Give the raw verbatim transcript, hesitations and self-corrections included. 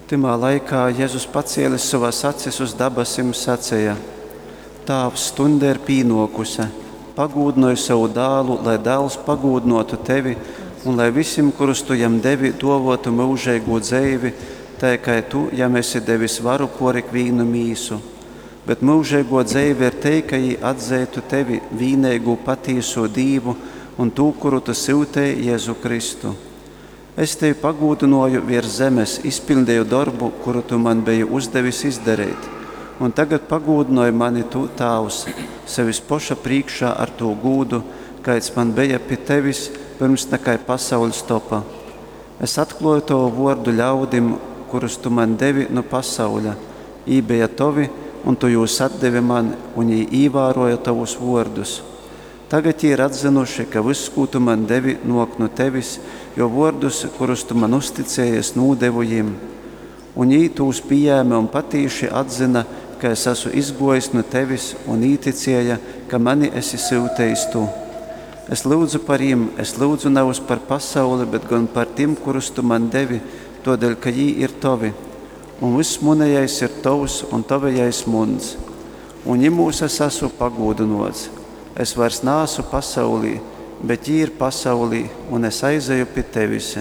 Tymā laikā Jezus pacēlis sovas acis uz dabasim saceja: Tāvs, stuņde ir pīnōkuse, pagūdynoj sovu dālu, lai dāls pagūdynōtu tevi, un lai visim, kurus tu jam devi, dōvōtu myužeigū dzeivi, tai kai tu jam esi devis varu pōr ikvīnu mīsu. Bet myužeigō dzeive ir tei, ka jī atzeitu tevi, vīneigū patīsū Dīvu, un tū, kuru tu syuteji, Jezu Kristu. Es tevi pagūdynōju viers zemes, izpiļdeju dorbu, kuru tu man beji uzdevis izdareit. Un tagad pagūdynoj mani tu, Tāvs, sevis poša prīškā ar tū gūdu, kaids man beja pi tevis, pyrms nakai pasauļs topa. Es atklōju tovu vōrdu ļaudim, kurus tu man devi nu pasauļa. Jī beja tovi, un tu jūs atdevi man, un jī īvārōja tovus vōrdus. Tagad jī ir atzynuši, ka vyss, kū tu man devi, nōk nu tevis, jo vōrdus, kurus tu man uzticēji, es nūdevu jim. Un jī tūs pījēme un patīši atzyna, ka es esmu izgōjis nu tevis, un īticēja, ka mani esi syutejis tu. Es lyudzu par jim, es lyudzu nevis par pasauli, bet gan par tim, kurus tu man devi, tōdēļ, ka jī ir tovi. Un vyss munejais ir tovs, un tavejais muns. Un jimūs es esmu pagūdynōts. Es vairs neesmu pasaulī, bet jī ir pasaulī, un es aizeju pi tevis.